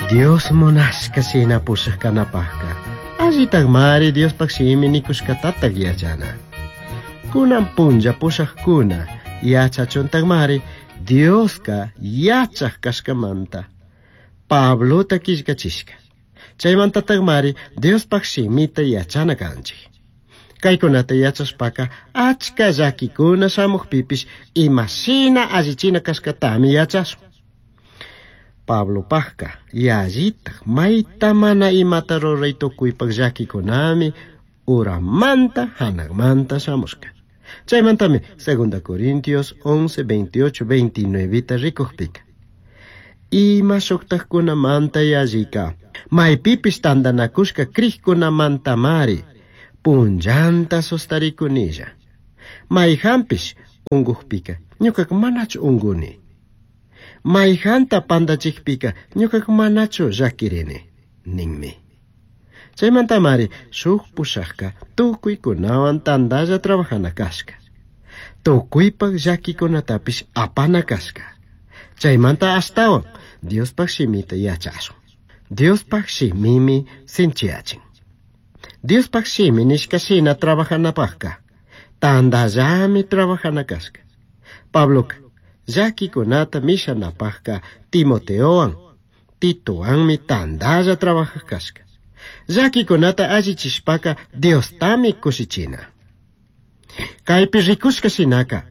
Dios munashka shina pushak kanapajka allitakmari Diospaj shimi nikushkatatak yachana. Kunan punlla pushajkuna yachachuntakmari Dioska yachaj kashkamanta Pablota killkachishka. Chaymantatakmari Diospaj shimita yachana kanchik. Kaykunata yachashpaka achka llakikuna shamukpipish imashina allichina kashkatami yachashun. Pablopajka yallitaj mayta mana imata ruray tukuypaj llakikunami uramanta hanaqmanta shamushka. Chaymantami 2 Corintios 11, 28, 29 rikukpika. Ima shuktajkunamanta yallika maypipish tantanakushka crijkunamantamari punllanta sustarikunilla. Mayjanpish unkukpika ñukaka manachu unkuni. Mayjanta pantachikpika ñukaka manachu llakirini ninmi. Chaymantamari shuk pushakka tukuykunawan tantalla trabajana kashka. Tukuypak llakikunatapish apana kashka. Chaymanta ashtawan Diospaj shimita yachashun. Diospaj shimimi sinchiyachin. Diospaj shimi nishka shina trabajanapajka tantallami trabajana kashka. Pabloka llakikunata mishanapajka Timoteowan Titowanmi tantalla trabajaj kashka. Llakikunata allichishpaka Diostami kushichina. Kaypi rikushka shinaka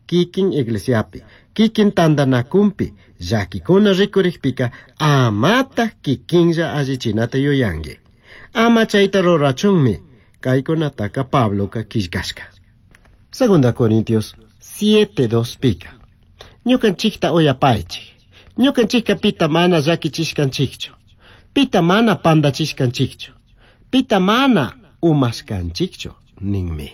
kikin iglesiapi, kikin tantanakunpi llakikuna rikurikpika amataj kikinlla allichinata yuyanki. Ama chayta rurachunmi kaykunataka Pabloka killkashka. Segunda Corintios 7:2 pika. Ñukanchikta uyapaychik. Ñukanchikka pita mana llakichishkanchikchu. Pita mana pantachishkanchikchu. Pita mana umashkanchikchu ninmi.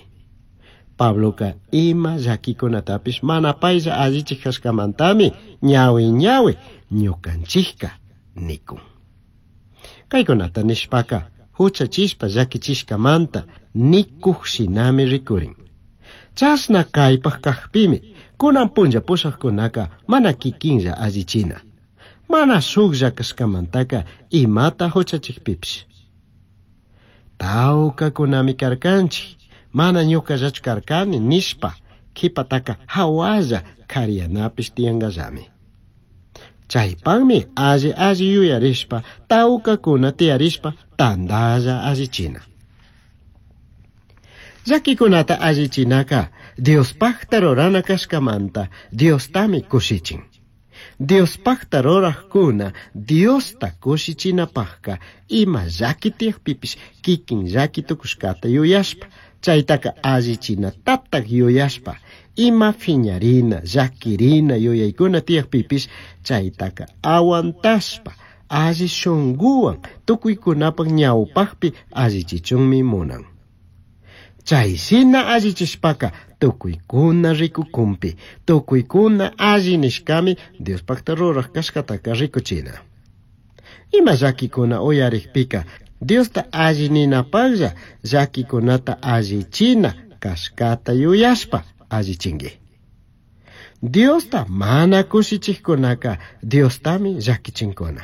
Pabloka ima llakikunatapish mana paylla allichik kashkamantami ñawi ñawi ñukanchikka nikun. Kaykunata nishpaka huchachishpa llakichishkamanta nikuj shinami rikurin. Chashna kaypaj kajpimi kunan punlla pushajkunaka mana kikinlla allichina. Mana shuklla kashkamantaka imata huchachikpipish. Tawkakunami karkanchik, mana ñukallachu karkani nishpa kipataka hawalla kariyanapish tiyankallami. Chaypakmi alli alli yuyarishpa tawkakuna tiyarishpa tantalla allichina. Llakikunata allichinaka Diospajta rurana kashkamanta Diostami kushichin. Diospajta rurajkuna Diosta kushichinapajka ima llaki tiyakpipish kikin llaki tukushkata yuyashpa chaytaka allichinatatak yuyashpa ima phiñarina llakirina yuyaykuna tiyakpipish chaytaka aguantashpa alli shunkuwan tukuykunapak ñawpakpi allichichunmi munan. Chayshina allichishpaka tukuykuna rikukunpi tukuykuna alli nishkami Diospakta ruraj kashkataka rikuchina. Ima llakikuna uyarikpika Diosta alli ninapaklla llakikunata allichina kashkata yuyashpa allichinki. Diosta mana kushichikkunaka Diostami llakichinkuna.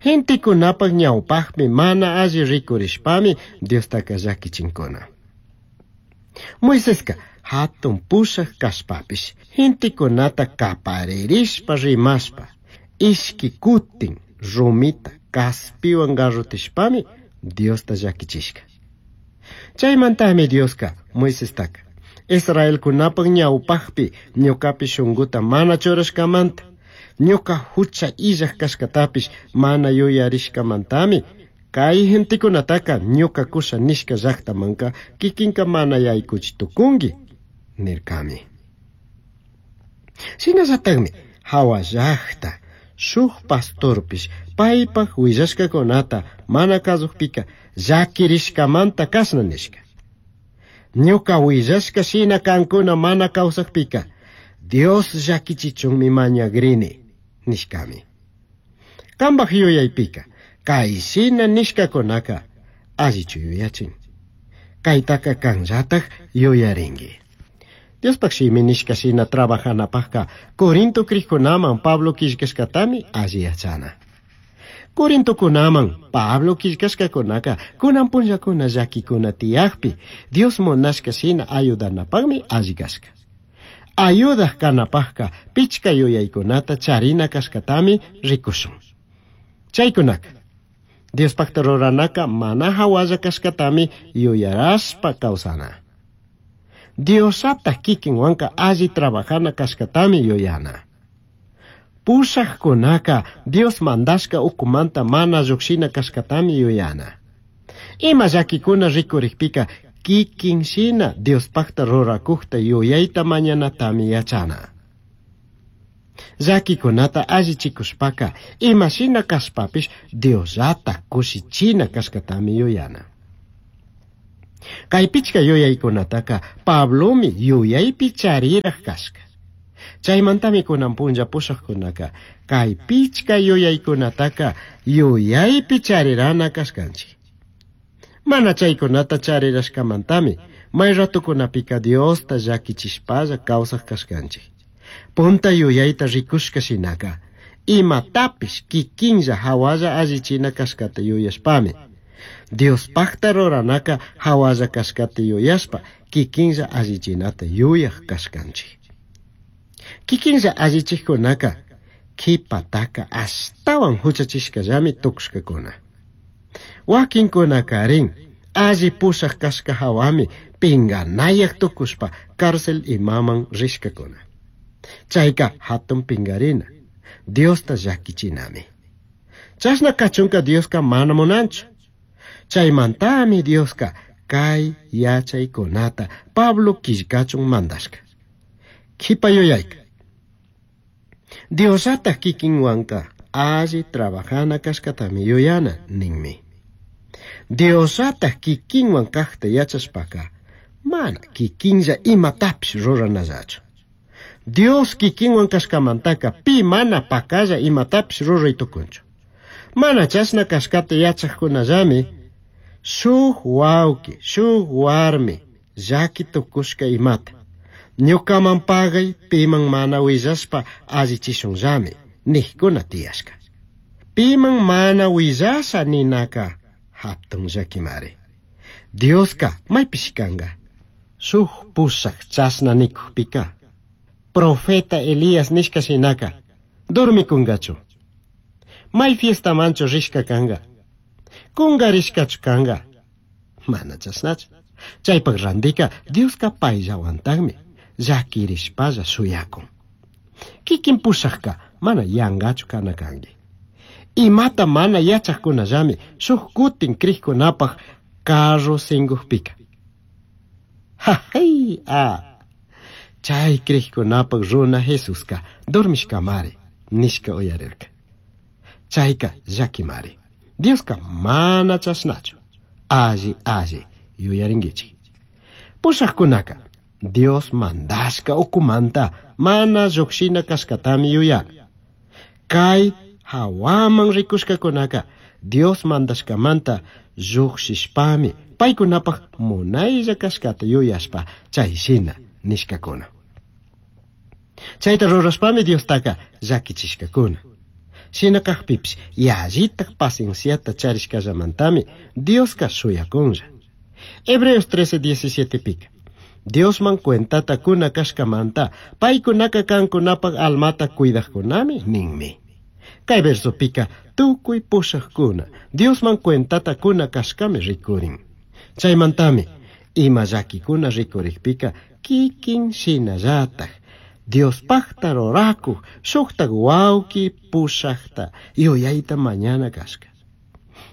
Gentekunapak ñawpakpi mana alli rikurishpami Diostaka llakichinkuna. Moiseska hatun pushak kashpapish gentekunata kaparirishpa rimashpa ishki kutin rumita kaspiwan garrutishpami Diosta llakichishka. Chaymantami Dioska Moisestaka Israelkunapak ñawpakpi ñukapi shunkuta mana churashkamanta ñuka hucha illaj kashkatapish mana yuyarishkamantami kay gentekunataka ñuka kusha nishka llaktamanka kikinka mana yaykuchi tukunki nirkami. Shinallatakmi hawa llakta shuk pastorpish paypak willashkakunata mana kasukpika llakirishkamanta kashna nishka. Ñuka willashka shina kankuna mana kawsakpika Dios llakichichunmi mañagrini nishkami. Kanpak yuyaypika kay shina nishkakunaka allichu yuyachin. Kaytaka kanllatak yuyarinki. Diospak shimi nishka shina trabajanapajka Corinto krikkunaman Pablo killkashkatami alli yachana. Corintokunaman Pablo quillcashcacunaca kunan punllakuna llaquikuna tiyakpi Dios munashka shina ayudanapaqmi alli kashka. Ayudaj kanapaqka pichka yuyaykunata charina kashkatami rikushun. Chaykunaka Diospaqta ruranaka mana hawalla kashkatami yuyarashpa kawsana. Diosata kikinwanka alli trabajana kashkatami yuyana. Pushaqkunaka Dios mandashka ukumanta mana lluqshina kashkatami yuyana. Ima llakikuna rikurikpika kikin shina Diospaqta rurakukta yuyayta mañanatami yachana. Llakikunata allichikushpaka ima shina kashpapish Diosllata kushichina kashkatami yuyana. Kay pichka yuyaykunataka Pablomi yuyaypi chariraq kashka. Chaymantami kunan punlla pushaqkunaka kay pichka yuyaykunataka yuyaypi charirana kashkanchik. Mana chaykunata charirashkamantami may ratukunapika Diosta llakichishpalla kawsaq kashkanchik. Punta yuyayta rikushka shinaka imatapish kikinlla hawalla allichina kashkata yuyashpami Diospaqta ruranaka hawalla kashkata yuyashpa kikinlla allichinata yuyaq kashkanchik. Kikinlla allichikkunaka qhipataka ashtawan huchachishkallami tukushkakuna. Wakinkunakarin alli pushaq kashka hawami pinganayaq tukushpa cárcel imaman rishkakuna. Chayka hatun pingarina, Diosta llakichinami. Chashna kachunka Dioska mana munanchu. Chaymantami Dioska kay yachaykunata Pablo killkachun mandashka. Qhipa yuyayka. Diosata kikinwanka alli trabajana kashkatami yuyana ninmi. Diosata kikinwan kaqta yachashpaka mana kikinlla imatapish ruranallachu. Dios kikinwan kashkamantaka pi mana pakalla imatapish ruray tukunchu. Mana chashna kashkata yachaqkunallami shuk wawqi, shuk warmi llaki tukushka imata. Ñukaman pagay piman mana willashpa allichishunllami niqkuna tiyashka. Piman mana willasha ninaka hatun llakimari. Dioska maypish kanka. Shuk pushaq chashna nikukpika profeta Elías nishka shinaka dormikungachu. May fiestamanchu rishka kanga. Kungarishkachu kanga. Mana chashnachu. Chaypaq randika Dioska payllawantaqmi llakirishpalla shuyakun. Kikin pushaqka mana yanqachu kana kanki. Imata mana yachaqkunallami shuk kutin kriqkunapaq carro sinkukpika. Jajay a chay kriqkunapaq runa Jesuska dormishkamari nishka uyarirka. Chayka llakimari. Dioska mana chashnachu. Alli alli yuyarinkichik. Pushaqkunaka Dios mandashka ukumanta mana lluqshina kashkatami yuyana. Kay hawaman rikushkakunaka Dios mandashkamanta lluqshishpami paykunapaq munaylla kashkata yuyashpa chay shina nishkakuna. Chayta rurashpami Diostaka llakichishkakuna. Shina kaqpipish yallitaq pacienciata charishkallamantami Dioska shuyakunlla. Hebreos 13:17 pika. Diosman cuentata kuna kashkamanta paykunaka kankunapaq almata cuidaqkunami ninmi. Kay versopika tukuy pushaqkuna Diosman cuentata kuna kashkami rikurin. Chaymantami ima llakikuna rikurikpika kikin shinallataq Diospaqta rurakuq shuqtaq wawqi pushaqta yuyayta mañana kashka.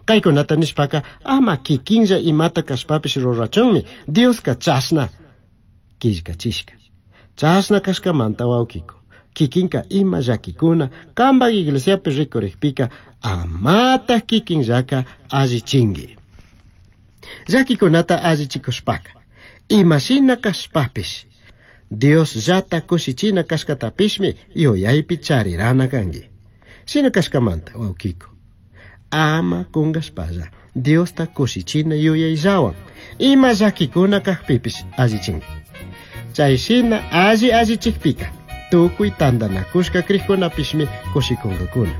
Kaykunata nishpaka ama kikinlla imata kashpapish rurachunmi Dioska chashna killkachishka. Chashna kashkamanta wawqiku. Kikinka ima llakikuna kanpak iglesiapi rikurikpika amataq kikinllaka allichinki. Llakikunata allichikushpaka imashina kashpapish Diosllata kushichina kashkatapishmi yuyaypi charirana kanki. Shina kashkamanta wawqiku. Ama kunkashpalla Diosta kushichina yuyayllawan ima llakikuna kaqpipish allichinki. Chay shina alli allichikpika tukuy tantanakushka kriqkunapishmi kushikunkakuna.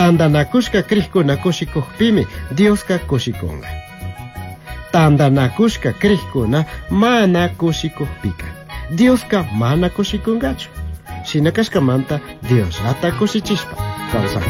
Tandanacushca crijcuna cushicujpimi Diosca cushicunga. Tandanacushca crijcuna mana cushicujpica Diosca mana cushicungachu. Shina cashcamanta Diosllata cushichishpa kawsakun.